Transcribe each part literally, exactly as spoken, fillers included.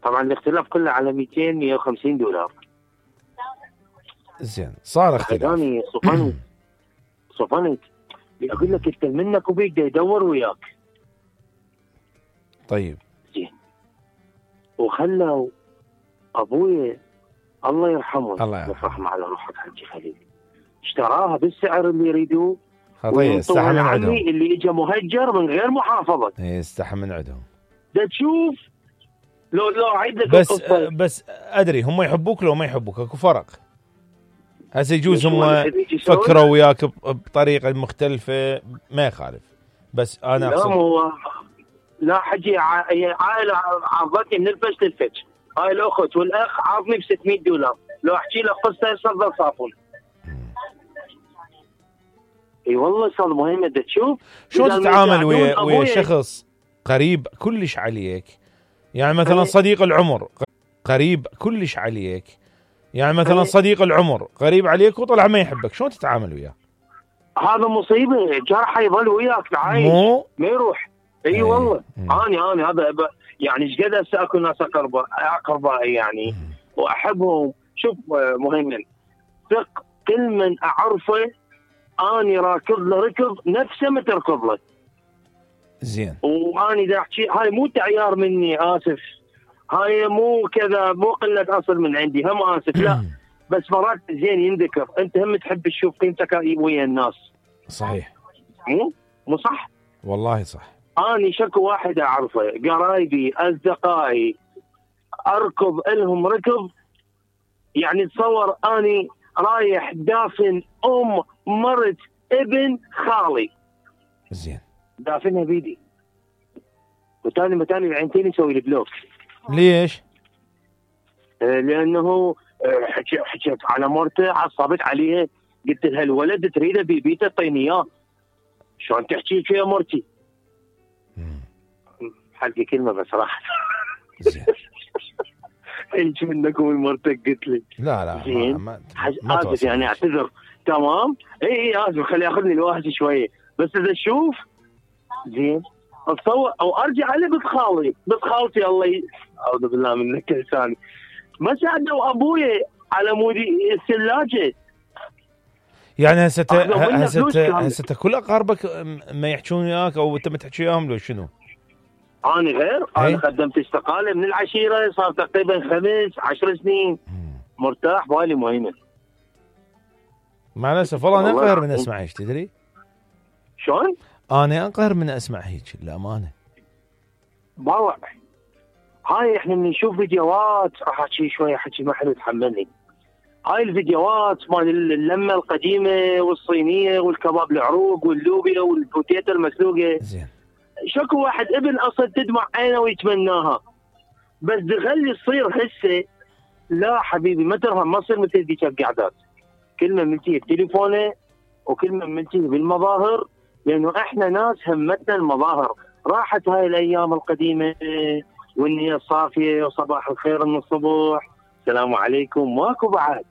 طبعا الاختلاف كله على مئتين مئة وخمسين دولار. زين صار اختلاف. يعني صفنت صفنت اقول لك انت منك وبيك يدور وياك. طيب زين. وخلوا ابوي الله يرحمه الله يرحمه يفرح على روحك حجي خليل، اشتراها بالسعر اللي يريدوه خطيه استحى من عندهم اللي اجى مهجر من غير محافظه. اي استحى من عندهم. ده تشوف لو لو عيد لك بس القصة. بس ادري هم يحبوك لو ما يحبوك اكو فرق. هسه يجوز هم فكروا وياك بطريقه مختلفه ما يخالف، بس انا لا اقصد هو لا حجي عائله عرضتني من الفش للفش، هاي الاخت والاخ عارضني ب ستمئة دولار، لو احكي لك قصه يصدر صافون. اي والله صار مهم انت تشوف شلون تتعامل ويا ويا شخص قريب كلش عليك، يعني مثلا صديق العمر قريب كلش عليك، يعني مثلا صديق العمر قريب عليك وطلع ما يحبك، شلون تتعامل وياه؟ هذا مصيبه، جرح يظل وياك عايش مو ما يروح. اي أيه والله انا انا هذا يعني ايش قد هسه اكو ناس اقرباء اقربائي يعني مم. واحبهم. شوف مهيمن، ثق كل من اعرفه اني راكض له ركض نفسه ما تركض له. زين. واني دا احكي هاي مو تعيار مني، اسف، هاي مو كذا، مو قله اصل من عندي، هم اسف لا بس مرات زين ينذكر، انت هم تحب تشوف قيمتك ويا الناس. صحيح. مو مو صح؟ والله صح. اني شكو واحد اعرفه قرايبي اصدقائي اركض لهم ركض، يعني تصور اني رايح دافن ام مرت ابن خالي. زين. دافنها بيدي وتاني متاني العينتين يسوي البلوك. ليش؟ آه لانه آه حكيت حكيت على مرته، عصبت عليها، قلت لها الولد تريده بيبيته طيني اياه، شلون تحكي يا مرتي؟ حلقي كلمه بس راحت. زين. ايش منكم مرتك قلت لي؟ لا لا زين. ما ما, ما اسف يعني اعتذر. تمام. اي اي اسف، خلي ياخذني الواحد شويه، بس اذا تشوف زين اتصور او ارجع على بنت خالي، بنت خالتي الله ي... اعوذ بالله منك لساني، ما ساعدوا ابوي على مودي الثلاجه. يعني هسه هسه هسه كل اقاربك ما يحجون وياك او انت ما تحكي وياهم لو شنو؟ انا غير انا قدمت استقاله من العشيره، صار تقريبا خمس عشر سنين مرتاح بالي مهيمن. مع الاسف والله انا انقهر من اسمع هيك، تدري؟ شلون؟ انا انقهر من اسمع هيك للامانه. باوع هاي احنا من نشوف فيديوهات، راح احكي شويه حكي ما حلو تحملني. هاي الفيديوهات مال اللمه القديمه والصينيه والكباب العروق واللوبيا والبوتيتا المسلوقه. زين. شكو واحد ابن اصلا تدمع عينه ويتمناها، بس تخلي تصير هسه لا حبيبي ما ترهم، ما تصير مثل ذيك القعدات، كلمه ملتيه بتليفونه وكلمه ملتيه بالمظاهر، لانه احنا ناس همتنا المظاهر. راحت هاي الايام القديمه والنيه الصافيه وصباح الخير من الصبح السلام عليكم، ماكو بعد.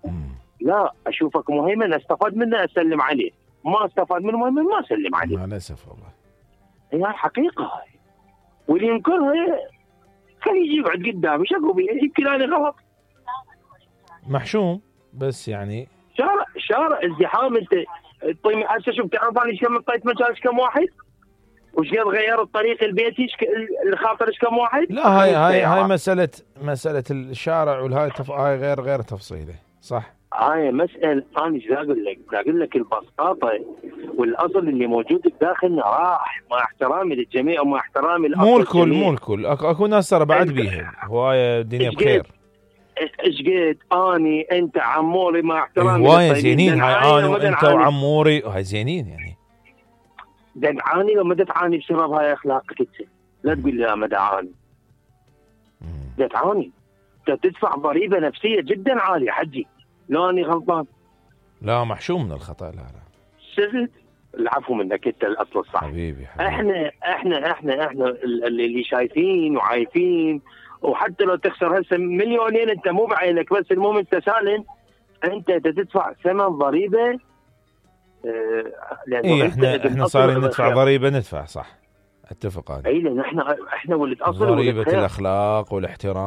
لا اشوفك مهيمن استفاد منه اسلم عليه، ما استفاد منه مهيمن ما اسلم عليه. مع الاسف والله هي الحقيقه هاي، واللي ينكرها خليه يجي يقعد قدامي شكو بيه يمكن انا غلط محشوم، بس يعني شارع شارع ازدحام. انت طيب هسه شوف تعرف انا ايش كم طيت مجال ايش كم واحد وش قد غير الطريق البيتي الخاطر ايش كم واحد. لا هاي هاي هاي مساله مساله الشارع والهاي تف... هاي غير غير تفصيله صح. هاي مسألة أنا إيش أقول لك؟ أقول لك البساطة والأصل اللي موجود بداخلنا راح، مع احترامي للجميع ومع احترامي للأصل. مو الكل مو الكل أكو, أكو ناس ترى بعد بيها هواية الدنيا بخير. إيش قد أني أنت عموري مع احترامي هواية زينين هاي أنا وأنت وعموري هاي زينين يعني. دعاني لو ما تعاني بسبب هاي أخلاقك أنت، لا تقول لي لا ما دعاني. دعاني أنت تدفع ضريبة نفسية جدا عالية حجي. لا أني غلطان؟ لا محشوم من الخطأ. لا لا سهل العفو منك انت الاصل الصح. حبيبي, حبيبي. احنا احنا احنا احنا اللي شايفين وعايفين، وحتى لو تخسر هسه مليونين انت مو بعينك، بس المهم انت سالم، انت تدفع ثمن ضريبه. اه اي احنا احنا صارين ندفع ضريبه ندفع صح. اتفق هذا. اي لان احنا احنا ولد اصل ضريبه الاخلاق والاحترام